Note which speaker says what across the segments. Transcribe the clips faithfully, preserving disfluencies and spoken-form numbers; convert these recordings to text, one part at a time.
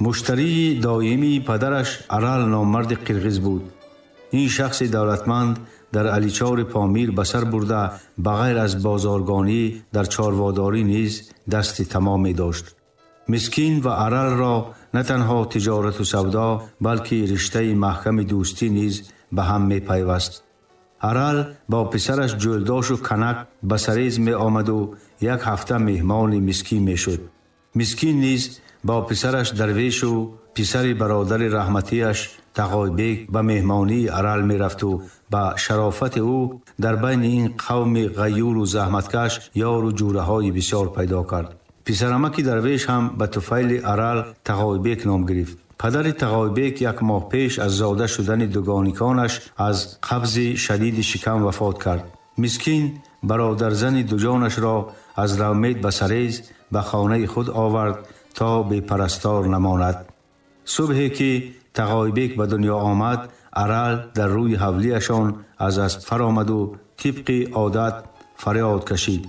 Speaker 1: Муштарии доимии падараш Арал номарди қирғиз буд. Ин шахси давлатманд дар Аличори Помир ба сар бурда, ба ғайр аз бозоргонӣ дар чорводорӣ низ дасти тамоме дошт. Мискин ва Аралро на танҳо тиҷорату савдо, балки риштаи маҳками дӯстӣ низ ба ҳам мепайваст. Арал бо писараш Ҷӯлдошу Канак ба Сарез меомаду як ҳафта меҳмони Мискин мешуд. Мискин низ бо писараш Дарвешу писари бародари раҳматиаш Тағойбек ба меҳмонии Арал мерафту ба шарофати ӯ дар байни ин қавми ғайюру заҳматкаш ёру ҷӯраҳои бисёр пайдо кард. Писарамаки Дарвеш ҳам ба туфайли Арал Тағойбек ном гирифт. Падари Тағойбек як моҳ пеш аз зода шудани дугониконаш аз қабзи шадиди шикам вафот кард. Мискин бародарзани дуҷонашро аз Равмед ба Сарез ба хонаи худ овард то бепарастор намонад. Субҳе ки Тағойбек ба дунё омад, Арал дар рӯи ҳавлиашон аз асп фаромаду тибқи одат фарёд кашид: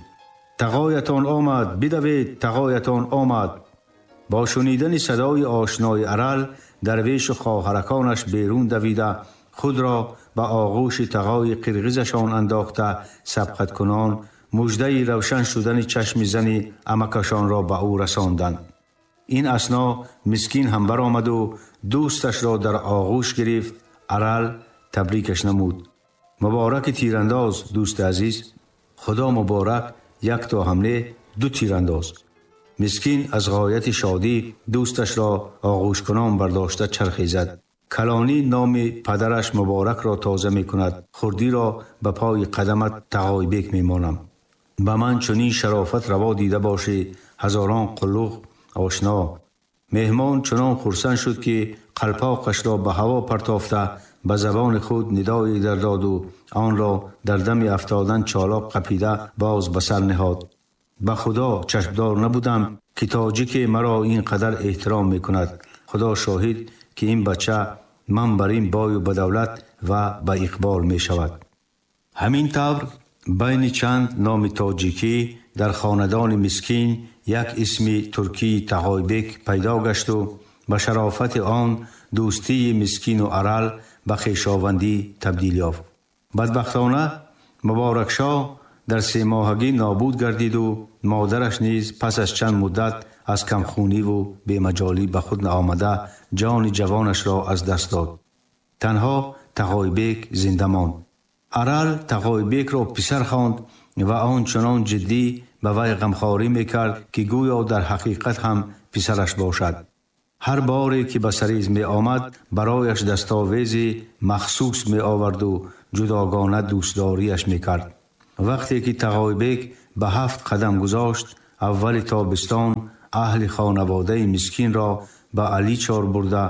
Speaker 1: «Тағоятон омад, бидавед, тағоятон омад!» Бо шунидани садои ошнои Арал, Дарвешу хоҳараконаш берун давида, худро ба оғӯши тағои қирғизашон андохта, сабқаткунон муждаи равшан шудани чашми зани амакашонро ба ӯ расонданд. Ин асно Мискин ҳам баромаду дӯсташро дар оғӯш гирифт. Арал табрикаш намуд: «Мубораки тирандоз, дӯсти азиз! Худо муборак, як то ҳамле ду тирандоз!» Мискин аз ғояти шодӣ дӯсташро оғӯшкунон бардошта чархе зад. «Калонӣ номи падараш Муборакро тоза мекунад, хурдиро ба пои қадамат Тағойбек мемонам. Ба ман чунин шарофат раво дида бошӣ, ҳазорон қуллуқ, ошно!» Меҳмон чунон хурсанд шуд, ки қалпоқашро ба ҳаво партофта, ба забони худ нидое дардоду онро дар дами афтодан чолоқ қапида боз ба сар ниҳод: «Ба Худо, чашмдор набудам, ки тоҷике маро ин қадар эҳтиром мекунад. Худо шоҳид, ки ин бача ман бар ин бою ба давлат ва ба иқбол мешавад». Ҳамин тавр байни чанд номи тоҷикӣ дар хонадони Мискин як исми туркии Тағойбек пайдо гашту ба шарофати он дӯстии Мискину Арал ба хешовандӣ табдил ёфт. Бадбахтона, Муборакшоҳ дар семоҳагӣ нобуд гардиду модараш низ пас аз чанд муддат аз камхуниву бемаҷолӣ ба худ наомада ҷони ҷавонашро аз даст дод. Танҳо Тағойбек зинда монд. Арал Тағойбекро писар хонд ва он чунон ҷиддӣ ба вай ғамхорӣ мекард, ки гӯё дар ҳақиқат ҳам писараш бошад. Ҳар боре ки ба Сарез меомад, барояш дастовези махсус меоварду ҷудогона дӯстдориаш мекард. Вақте ки Тағойбек ба ҳафт қадам гузошт, аввали тобистон аҳли хонаводаи Мискинро ба Аличор бурда,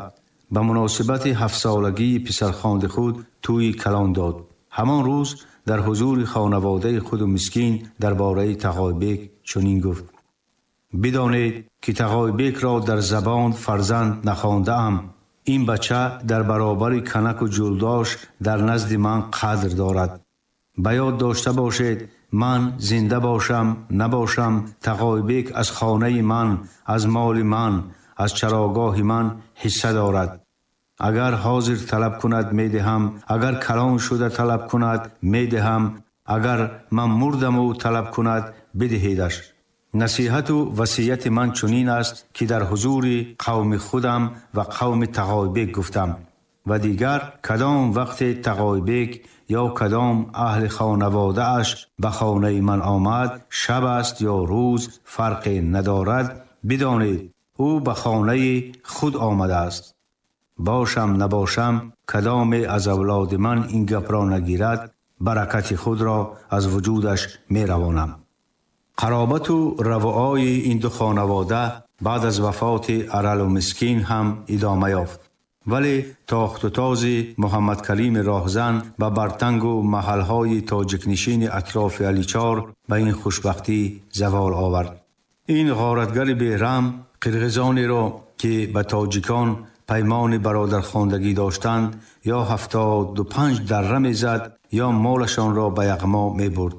Speaker 1: ба муносибати ҳафтсолагии писархонди худ тӯйи калон дод. Ҳамон рӯз дар ҳузури хонаводаи худу Мискин дар бораи Тағойбек чунин гуфт: «Бидонед, ки Тағойбекро дар забон фарзанд нахондаам. Ин бача дар баробари Канаку Ҷулдош дар назди ман қадр дорад. Ба ёд дошта бошед, ман зинда бошам набошам, Тағойбек аз хонаи ман, аз моли ман, аз чарогоҳи ман ҳисса дорад. Агар ҳозир талаб кунад, медиҳам, агар калон шуда талаб кунад, медиҳам, агар ман мурдаму талаб кунад, бидиҳедаш. Насиҳату васияти ман чунин аст, ки дар ҳузури қавми худам ва қавми Тағойбек гуфтам. Ва дигар кадом вақте Тағойбек ё кадом аҳли хонаводааш ба хонаи ман омад, шаб аст ё рӯз, фарқе надорад, бидонед, ӯ ба хонаи худ омадааст. Бошам набошам, кадоме аз авлоди ман ин гапро нагирад, баракати худро аз вуҷудаш меравонам». Қаробату равоаи ин ду хонавода баъд аз вафоти Аралу Мискин ҳам идома ёфт, вале тохтутози Муҳаммадкарими роҳзан ба Бартангу маҳалҳои тоҷикнишини атрофи Аличор ба ин хушбахтӣ завол овард. Ин ғоратгари бераҳм қирғизонеро, ки ба тоҷикон паймони бародархондагӣ доштанд, ё ҳафтоду панҷ дарра мезад, ё молашонро ба яғмо мебурд.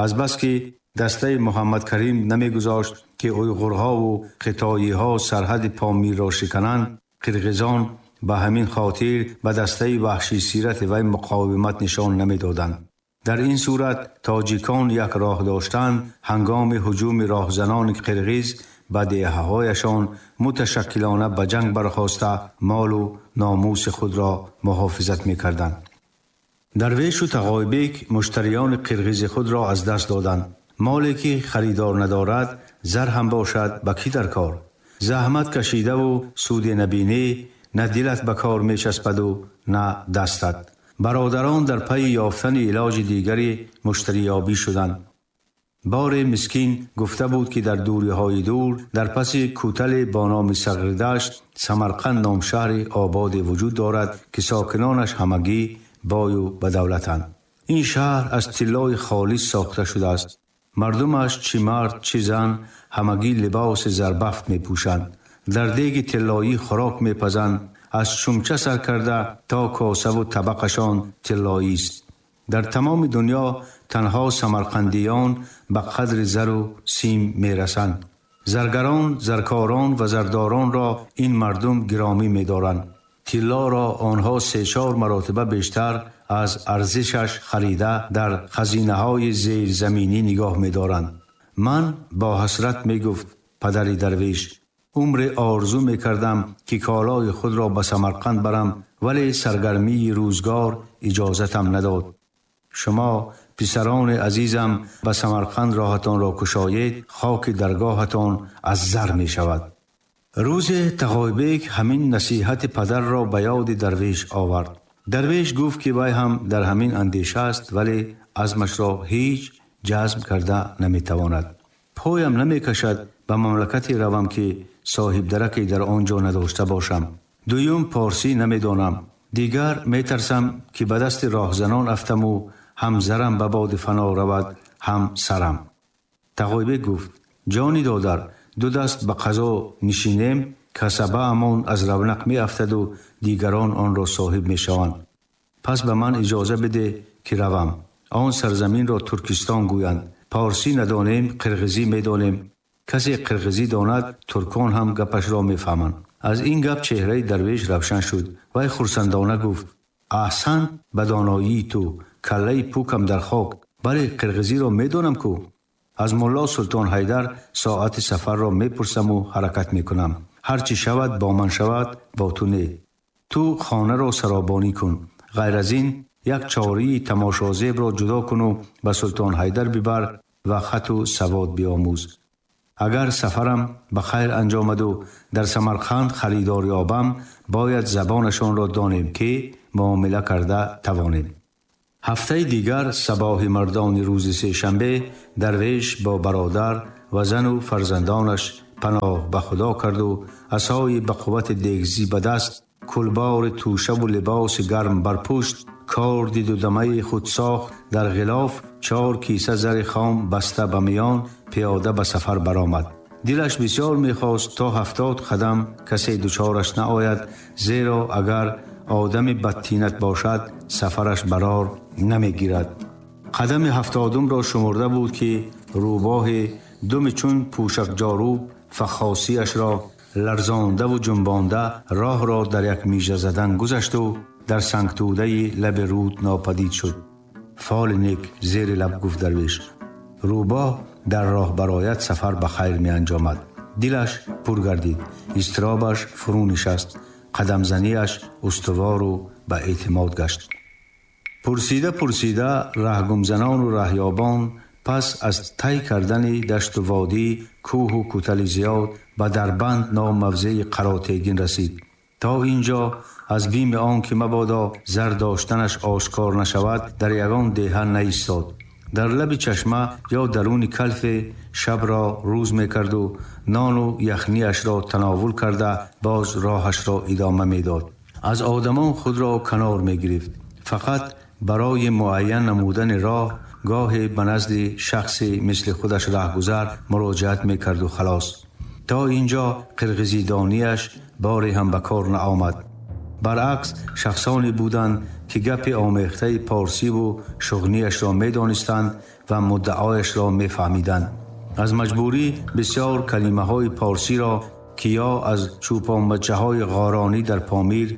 Speaker 1: Азбаски дастаи Муҳаммадкарим намегузошт, ки уйғурҳову хитоиҳо сарҳади Помирро шикананд, қирғизон ба ҳамин хотир ба дастаи ваҳшисирати вай муқовимат нишон намедоданд. Дар ин сурат тоҷикон як роҳ доштанд, ҳангоми ҳуҷуми роҳзанони қирғиз ба деҳаҳояшон муташаккилона ба ҷанг бархоста молу номуси худро муҳофизат мекарданд. Дарвешу Тағойбек муштариёни қирғизи худро аз даст доданд. Моле ки харидор надорад, зар ҳам бошад, ба кӣ дар кор? Заҳмат кашидаву суде набинӣ, на дилат ба кор мечаспаду на дастат. Бародарон дар пайи ёфтани илоҷи дигари муштариёбӣ шуданд. Боре мискин гуфта буд, ки дар дуриҳои дур, дар паси кӯтале бо номи Сағридашт, Самарқанд ном шаҳри ободе вуҷуд дорад, ки сокинонаш ҳамагӣ бою ба давлатанд. Ин шаҳр аз тиллои холис сохта шудааст. Мардумаш чӣ мард, чӣ зан ҳамагӣ либоси зарбафт мепӯшанд. Дар деги тиллоӣ хӯрок мепазанд. Аз чумча сар карда то косаву табақашон тиллоист. Дар тамоми дунё танҳо самарқандиён ба қадри зару сим мерасанд. Заргарон, заркорон ва зардоронро ин мардум гиромӣ медоранд. Тиллоро онҳо се-чор маротиба бештар аз арзишаш харида дар хазинаҳои зерзаминӣ нигоҳ медоранд. Ман бо ҳасрат мегуфт падари дарвеш, умре орзу мекардам, ки колои худро ба Самарқанд барам, вале саргармии рӯзгор иҷозатам надод. Шумо писарони азизам ба Самарқанд роҳатонро кушоед, хоки даргоҳатон аз зар мешавад. Рӯзе Тағойбек ҳамин насиҳати падарро ба ёди дарвеш овард. Дарвеш гуфт, ки вай ҳам дар ҳамин андеша аст, вале азмашро ҳеҷ ҷазм карда наметавонад. Поям намекашад ба мамлакате равам, ки соҳибдараке дар он ҷо надошта бошам. Дуюм, порсӣ намедонам. Дигар метарсам, ки ба дасти роҳзанон афтаму ҳам зарам ба боди фано равад, ҳам сарам. Тағойбек гуфт: ҷони додар, ду даст ба қазо нишинем, касабаамон аз равнақ меафтаду дигарон онро соҳиб мешаванд. Пас ба ман иҷоза биде, ки равам. Он сарзаминро Туркистон гӯянд. Порсӣ надонем, қирғизӣ медонем. Касе қирғизӣ донад, туркон ҳам гапашро мефаҳманд. Аз ин гап чеҳраи дарвеш равшан шуд. Вай хурсандона гуфт: аҳсан ба доноии ту, каллаи пукам дар хок. Бале, қирғизиро медонам ку. Аз мулло Султон Ҳайдар соати сафарро мепурсаму ҳаракат мекунам. Ҳар чӣ шавад бо ман шавад, бо ту не. Ту хонаро саробонӣ кун. Ғайр аз ин як чории тамошозебро ҷудо куну ба Султон Ҳайдар бибар ва хату савод биомӯз. Агар сафарам ба хайр анҷомаду дар Самарқанд харидор ёбам, бояд забонашонро донем, ки муомила карда тавонем. Ҳафтаи дигар сабоҳи мардони рӯзи сешанбе дарвеш бо бародар ва зану фарзандонаш паноҳ ба Худо карду асои ба қуввати дегзӣ ба даст, кулбори тӯшаву либоси гарм бар пушт, корди дудамаи худсохт дар ғилоф, чор киса зари хом баста ба миён, пиёда ба сафар баромад. Дилаш бисёр мехост то ҳафтод қадам касе дучораш наояд, зеро агар одами бадтинат бошад, сафараш барор намегирад. Қадами ҳафтодумро шумурда буд, ки рӯбоҳи думи чун пӯшакҷоруб фахосиашро ларзондаву ҷунбонда роҳро дар як мижа задан гузашту дар сангтӯдаи лаби руд нопадид шуд. Фоли нек, зери лаб гуфт дарвеш. Рӯбоҳ дар роҳ барояд, сафар ба хайр меанҷомад. Дилаш пур гардид, изтиробаш фурӯ нишаст, қадамзанияш устувору ба эътимод гашт. Пурсида пурсида раҳгумзанону раҳёбон пас аз тай кардани дашту водӣ, кӯҳу кӯтали зиёд ба Дарбанд ном мавзеи Қаротегин расид. То ин ҷо аз бими он ки мабодо зар доштанаш ошкор нашавад, дар ягон деҳа наистод. Дар лаби чашма ё даруни калфе шабро рӯз мекарду нону яхниашро тановул карда боз роҳашро идома медод. Аз одамон худро канор мегирифт. Фақат барои муайян намудани роҳ гоҳе ба назди шахсе мисли худаш раҳгузар муроҷиат мекарду халос. То ин ҷо қирғизидонияш боре ҳам ба кор наомад. Баръакс, шахсоне буданд, ки гапи омехтаи порсиву шуғнияшро медонистанд ва муддаояшро мефаҳмиданд. Аз маҷбурӣ бисёр калимаҳои порсиро, ки ё аз чӯпонбачаҳои ғоронӣ дар Помир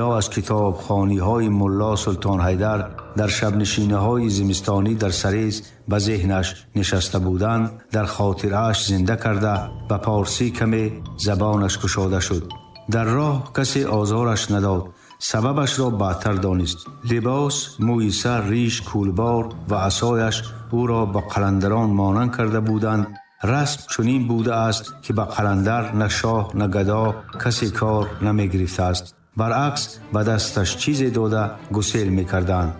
Speaker 1: ё аз китобхониҳои Мулло Султон Ҳайдар дар шабнишинаҳои зимистонӣ дар Сарез ба зеҳнаш нишаста буданд, дар хотирааш зинда карда ба порсӣ каме забонаш кушода шуд. Дар роҳ касе озораш надод. Сабабашро баъдтар донист. Либос, мӯи сар, риш, кӯлбор ва асояш ӯро ба қаландарон монанд карда буданд. Расм чунин будааст, ки ба қаландар на шоҳ, на гадо касе кор намегирифтааст. Баръакс, ба дасташ чизе дода гусел мекарданд.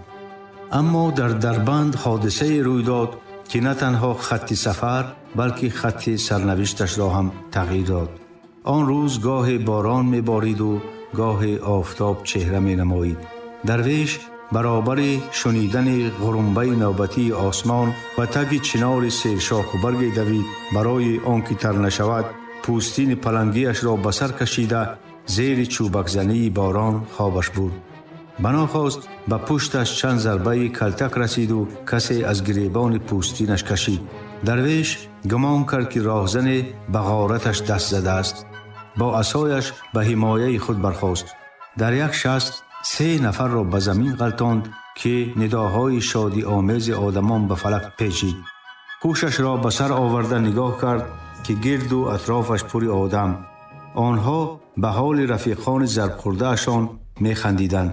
Speaker 1: Аммо дар Дарбанд ҳодисае рӯй дод, ки на танҳо хатти сафар, балки хатти сарнавишташро ҳам тағйир дод. Он рӯз гоҳе борон мебориду гоҳе офтоб чеҳра менамоид. Дарвеш баробари шунидани ғурумбаи навбатии осмон ба таги чинори сершоху барге давид. Барои он ки тар нашавад, пӯстини палангиашро ба сар кашида зери чӯбакзании борон хобаш бурд. Банохост ба пушташ чанд зарбаи калтак расиду касе аз гиребони пӯстинаш кашид. Дарвеш гумон кард, ки роҳзане ба ғораташ даст задааст. Бо асояш ба ҳимояи худ бархост. Дар як шаст се нафарро ба замин ғалтонд, ки нидоҳои шодиомези одамон ба фалак печид. Ҳушашро ба сар оварда нигоҳ кард, ки гирду атрофаш пури одам. Онҳо ба ҳоли рафиқони зарбхӯрдаашон механдиданд.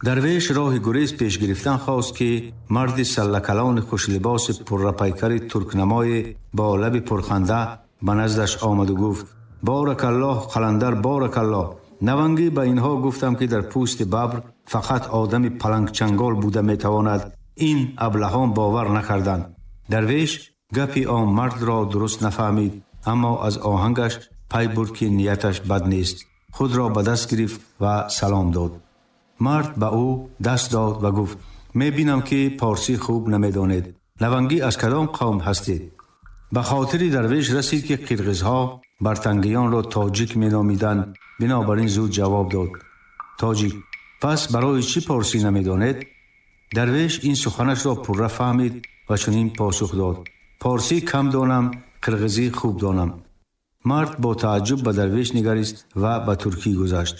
Speaker 1: Дарвеш роҳи гурез пеш гирифтан хост, ки марди саллакалони хушлибоси пуррапайкари туркнамое бо лаби пурханда ба наздаш омаду гуфт: «Боракаллоҳ, қаландар, боракаллоҳ! Навангӣ, ба инҳо гуфтам, ки дар пӯсти бабр фақат одами палангчангол буда метавонад. Ин аблаҳон бовар накарданд». Дарвеш гапи он мардро дуруст нафаҳмид, аммо аз оҳангаш пай бурд, ки нияташ бад нест. Худро ба даст гирифт ва салом дод. Мард ба ӯ даст дод ва гуфт: «Мебинам, ки порсӣ хуб намедонед. Навангӣ, аз кадом қавм ҳастед?» Ба хотири дарвеш расид, ки қирғизҳо бартангиёнро тоҷик меномиданд. Бинобар ин зуд ҷавоб дод: «Тоҷик». «Пас барои чӣ порсӣ намедонед?» Дарвеш ин суханашро пурра фаҳмид ва чунин посух дод: «Порсӣ кам донам, қирғизӣ хуб донам». Мард бо тааҷҷуб ба дарвеш нигарист ва ба туркӣ гузашт: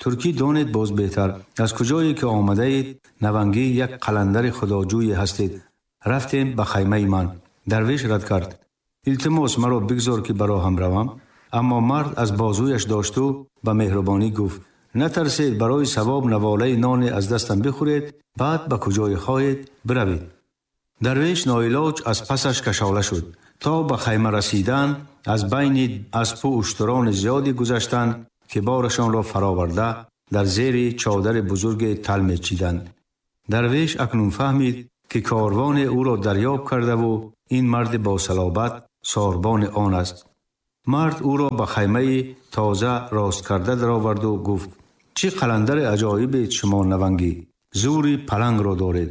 Speaker 1: «Туркӣ донед, боз беҳтар. Аз куҷое ки омадаед, навангӣ як қаландари худоҷӯе ҳастед. Рафтем ба хаймаи ман». Дарвеш рад кард: «Илтимос, маро бигзор, ки ба роҳам равам». Аммо мард аз бозӯяш дошту ба меҳрубонӣ гуфт: «Натарсед, барои савоб наволаи ноне аз дастам бихӯред, баъд ба куҷое хоҳед биравед». Дарвеш ноилоҷ аз пасаш кашола шуд. То ба хайма расидан аз байни аспу уштурони зиёде гузаштанд, ки борашонро фароварда дар зери чодари бузурге тал мечиданд. Дарвеш акнун фаҳмид, ки корвоне ӯро дарёб кардаву ин марди босалобат сорбони он аст. Мард ӯро ба хаймаи тоза рост карда дароварду гуфт: «Чӣ қаландари аҷоибед шумо, навангӣ! Зури палангро доред.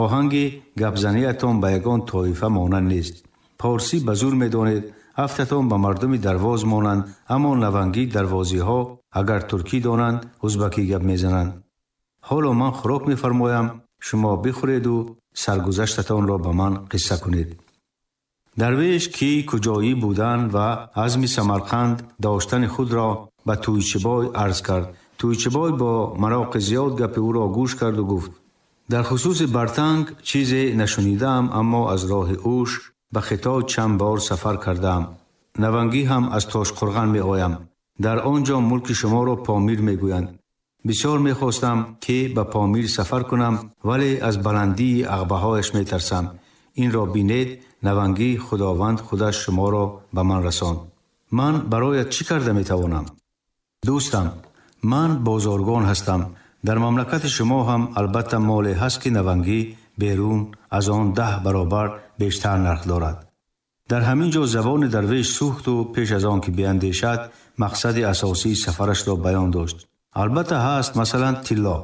Speaker 1: Оҳанги гапзаниятон ба ягон тоифа монанд нест. Порсӣ ба зур медонед, афтатон ба мардуми дарвоз монанд, аммо навангӣ дарвозиҳо агар туркӣ донанд, узбакӣ гап мезананд. Ҳоло ман хӯрок мефармоям, шумо бихӯреду саргузаштатонро ба ман қисса кунед». Дарвеш ки куҷоӣ будан ва азми Самарқанд доштани худро ба Тӯйчибой арз кард. Тӯйчибой бо мароқи зиёд гапи ӯро гӯш карду гуфт: «Дар хусуси Бартанг чизе нашунидаам, аммо аз роҳи Ӯш ба Хитой чанд бор сафар кардаам. Навангӣ ҳам аз Тошқурған меоям. Дар он ҷо мулки шуморо Помир мегӯянд. Бисёр мехостам, ки ба Помир сафар кунам, вале аз баландии ағбаҳояш метарсам. Инро бинед, навангӣ, Худованд худаш шуморо ба ман расонд. Ман бароят чӣ карда метавонам?» «Дӯстам, ман бозоргон ҳастам. Дар мамлакати шумо ҳам албатта моле ҳаст, ки навангӣ берун аз он даҳ баробар бештар нарх дорад». Дар ҳамин ҷо забони дарвеш сӯхту пеш аз он ки биандешад, мақсади асосии сафарашро баён дошт: «Албатта ҳаст, масалан тилло».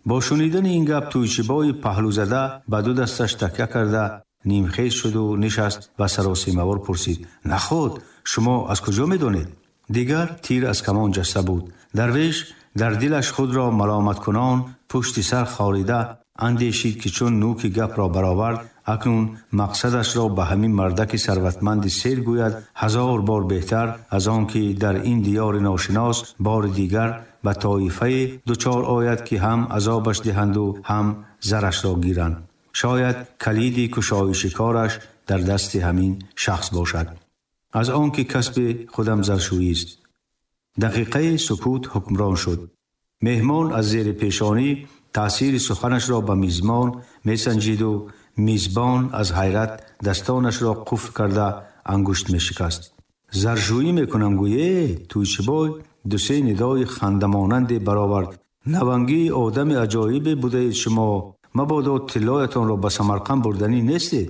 Speaker 1: Бо шунидани ин гап Тӯйчибои паҳлӯзада ба ду дасташ такя карда нимхез шуду нишаст ва саросимавор пурсид: «Наход, шумо аз куҷо медонед?» Дигар тир аз камон ҷаста буд. Дарвеш дар дилаш худро маломаткунон пушти сар хорида Андешид ки чун нӯки гапро баровард, акнун мақсадашро ба ҳамин мардаки сарватманди сер гӯяд, ҳазор бор беҳтар аз он ки дар ин диёри ношинос бори дигар ба тоифае дучор ояд ки ҳам азобаш диҳанду ҳам зарашро гиранд. Шояд калиди кушоиши кораш дар дасти ҳамин шахс бошад. Аз он ки касби худам заршӯист. Дақиқаи сукут ҳукмрон шуд. Меҳмон аз зери пешонӣ таъсири суханашро ба мизбон месанҷиду мизбон аз ҳайрат дастонашро қуфл карда ангушт мешикаст. Заршӯӣ мекунам гӯе, Тӯйчибой ду-се нидои хандамонанде баровард. Навангии одами аҷоибе будаед шумо, мабодо тиллоятонро ба Самарқанд бурданӣ нестед.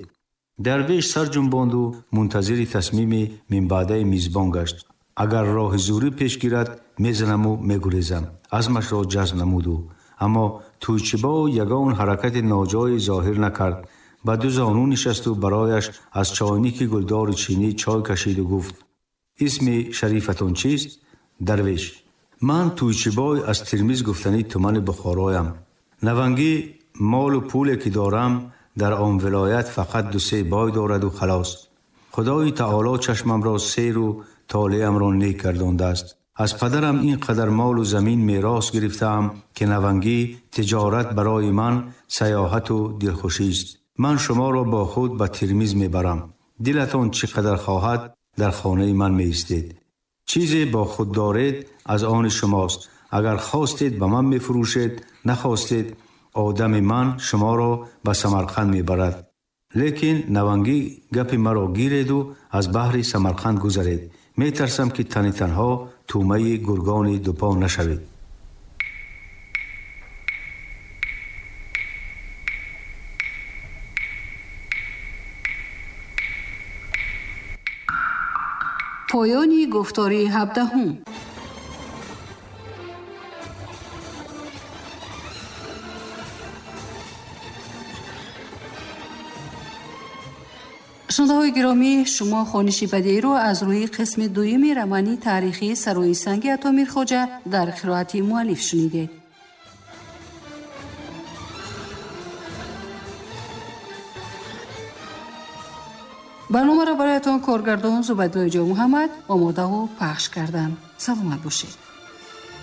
Speaker 1: Дарвеш сар ҷунбонду мунтазири тасмими минбаъдаи мизбон гашт. Агар роҳи зурӣ пеш гирад, мезанаму мегурезам. Азмашро ҷазм намуду. Аммо Тӯйчибой ягон ҳаракати ноҷое зоҳир накард. Ба ду зону нишасту барояш аз чойники гулдори чинӣ чой кашиду гуфт: исми шарифатон чист? Дарвеш. Ман Тӯйчибой аз Термиз гуфтанӣ тумани Бухороям. Навангӣ молу пуле ки дорам дар он вилоят фақат ду-се бой дораду халос. Худои таоло чашмамро серу толеамро нек гардондааст. Аз падарам ин қадар молу замин мерос гирифтаам ки навангӣ тиҷорат барои ман саёҳату дилхушист. Ман шуморо бо худ ба Термиз мебарам. Дилатон чӣ қадар хоҳад дар хонаи ман меистед. Чизе бо худ доред аз они шумост. Агар хостед ба ман мефурӯшед, нахостед одами ман шуморо ба Самарқанд мебарад. Лекин навангӣ гапи маро гиреду аз баҳри Самарқанд гузаред. Метарсам ки тани танҳо тӯмаи гургони дупо нашавед.
Speaker 2: Поёни гуфтори ҳабдаҳум. Шунавандаҳои гиромӣ, шумо хониши бадеиро аз рӯи қисми дуюми романи таърихии Сарои санги Атомир Хоҷа дар қироати муаллиф шунидед. Барномаро бароятон коргардон Зубайдуллои Ҷонмуҳаммад омодаву пахш карданд. Саломат бошед.